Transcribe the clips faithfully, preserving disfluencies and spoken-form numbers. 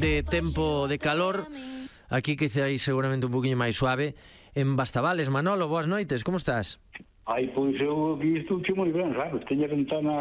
De tempo de calor, aquí que aí seguramente un poquinho máis suave. En Bastavales, Manolo, boas noites, como estás? Ai, pois eu aquí estou moi ben, sabes? Teño a ventana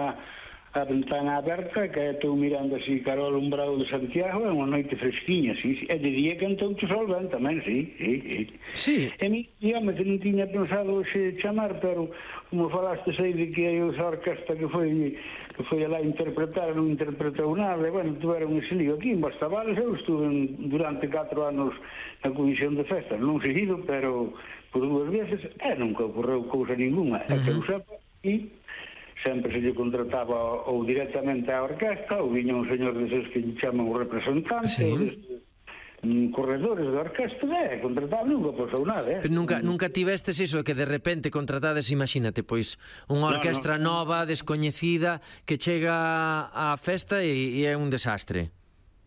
a ventana aberta, que estou mirando así cara ao alumbrado de Santiago, é unha noite fresquiña, sí, sí. E de día cantou o sol ben tamén, sí, sí, sí. Sí. E mi, dígame, que non tiña pensado xe chamar, pero como falaste aí de que hai esa orquesta que foi que foi lá a interpretar, non interpretou nada, e, bueno, tuveron ese lío aquí en Bastavales. Eu estuve durante catro anos na comisión de festas, non seguido, pero por dúas veces, e nunca ocorreu cousa ninguna, uh-huh. É que eu sepa, e sempre se lle contrataba ou directamente á orquesta, ou viña un señor deses que lle chaman o representante, sí. Ou deses um, corredores da orquesta, e contrataba, nunca pasou nada, eh? Pero nunca, nunca tivestes iso, que de repente contratades, imagínate, pois, unha orquestra no, no. nova, descoñecida, que chega á festa e, e é un desastre.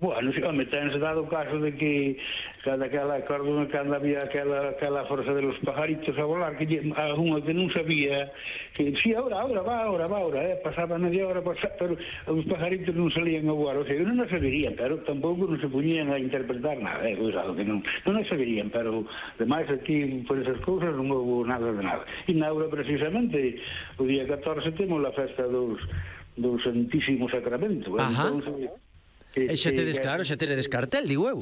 Bueno, sí, home, tense dado o caso de que cada aquela, acordo cando había aquela, aquela forza de los pajaritos a volar, que a unha que non sabía, que si, sí, ahora, ahora, va, ahora, va, ahora, eh, pasaba media hora, pasaba, pero os pajaritos non salían a voar, o sea, non se verían, pero tampouco non se poñían a interpretar nada, eh, cuidado, que non, non se verían, pero, demais, aquí, por esas cousas, non houve nada de nada. E na hora, precisamente, o día catorce, temos a festa dos, do Santísimo Sacramento, eh, Ajá. Entón, E xa tedes, claro, xa tedes cartel, digo eu.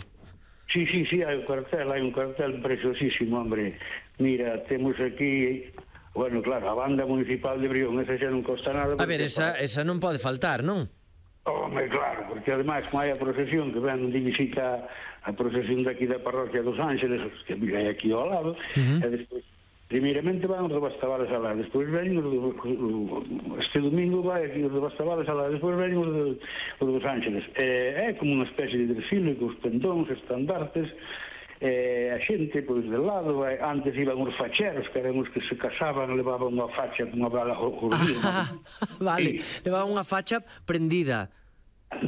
Sí, sí, sí, hai un cartel, hai un cartel preciosísimo, hombre. Mira, temos aquí, bueno, claro, a banda municipal de Brión, esa xa non costa nada. A ver, esa, esa non pode faltar, non? Home, claro, porque ademais, como hai a procesión que ven de visita a procesión daqui da parroquia dos Ángeles, que hai aquí ao lado, uh-huh. E despois, primeiramente van os de Bastavales alá, despois ven os de, este domingo vai aquí os de Bastavales alá, despois ven os de os dos Ángeles. É, é como unha especie de desfile cos pendóns, estandartes, e a xente, pois, de lado, é, antes iban os facheros, que eran os que se casaban, levaban unha facha con unha bala jordina. Ah, vale, sí. Levaban unha facha prendida.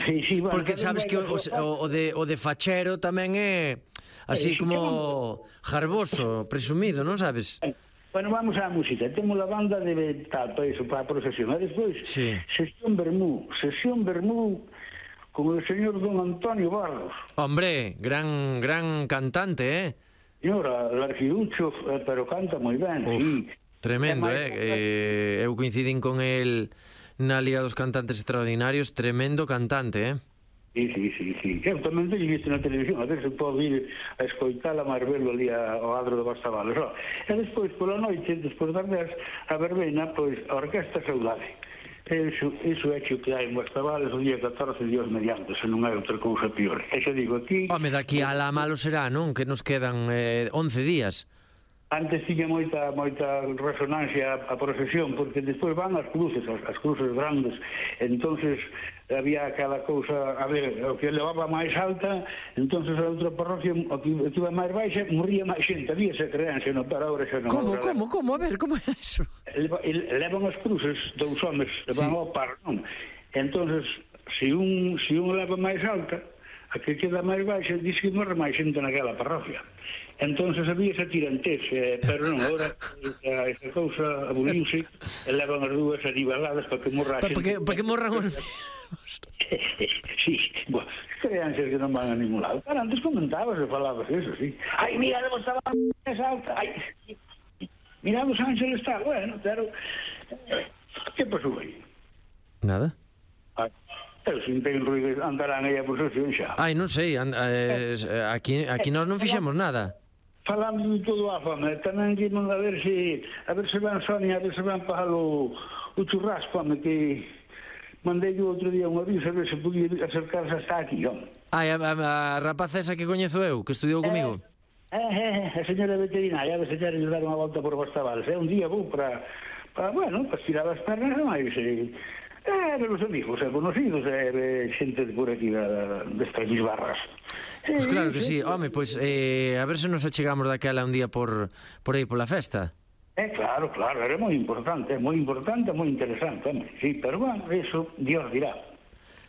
Sí, sí, bueno, porque sabes que o, o, o, de, o de fachero tamén é así eh, como jarboso, presumido, non sabes? Bueno, vamos á música. Temos a banda de tal, para iso, para a procesión. E despois, sí. Sesión Bermú. Sesión Bermú con o señor don Antonio Barros. Hombre, gran gran cantante, eh? Señora, el arquiducho, pero canta moi ben, uf, sí. Tremendo, eh? eh? Eu coincidín con el na Liga dos Cantantes Extraordinarios, tremendo cantante, eh? Sí, sí, sí, sí. Eu tamén te visto na televisión, a ver se pode ir a escoitar a Marbelo ali ao adro de Bastavales. Oh. E despois, pola noite, despois das dez, a verbena, pois, a Orquesta Saudade. Iso, iso é que hai en Bastavales o día catorce, Dios mediante, se non é outra cousa pior. E xa digo aquí... Home, daqui a la malo será, non? Que nos quedan eh, once días. Antes tiña moita moita resonancia a, a procesión, porque despois van as cruces, as, as cruces grandes, entonces había aquela cousa, a ver, o que levaba máis alta, entonces a outra parroquia, o que, o que iba máis baixa, morría máis xente, había esa creencia, no, pero ahora xa non. Como, como, como? A ver, como é eso? Levan as cruces dous homes, levan sí. Ao par, non? Entonces, se un, se un leva máis alta, a que queda máis baixa, diz que morre máis xente naquela parroquia. Entonces había esa tirantez, eh, pero non, agora esa cousa aboliuse, e levan as dúas aniveladas para que morra a xente. Para que, para que morran os... Sí, bueno, creanzas que non van a ningún lado. Pero antes comentabas e falabas eso, sí. Ai, mira, debo estaba máis alta, ai, mira, Los Ángeles está, bueno, pero... Que pasou aí? Nada. Ai, eu sin ten ruido, andarán aí a procesión xa. Ai, non sei, and, eh, aquí, aquí nós non fixemos nada. Falando de todo a fama, tamén que non a ver se a ver se van Sonia, a ver se van para o, o churrasco, home, que mandei yo outro día un aviso a ver se podía acercarse hasta aquí, home. Ai, a, a, a rapaza esa que coñezo eu, que estudiou comigo. Eh, eh, eh, a señora veterinaria, a ver se queres dar unha volta por Bastavales. É un día vou para, para bueno, para estirar as pernas, máis, eh, eh, ver os amigos, eh, conocidos, eh, xente de por aquí, da, destas bisbarras. Pois pues claro que sí, home, pois pues, eh, a ver se nos achegamos daquela un día por por aí pola festa. É eh, claro, claro, era moi importante, moi importante, moi interesante, home, sí, pero bueno, eso Dios dirá.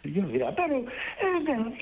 Dios dirá, pero eh,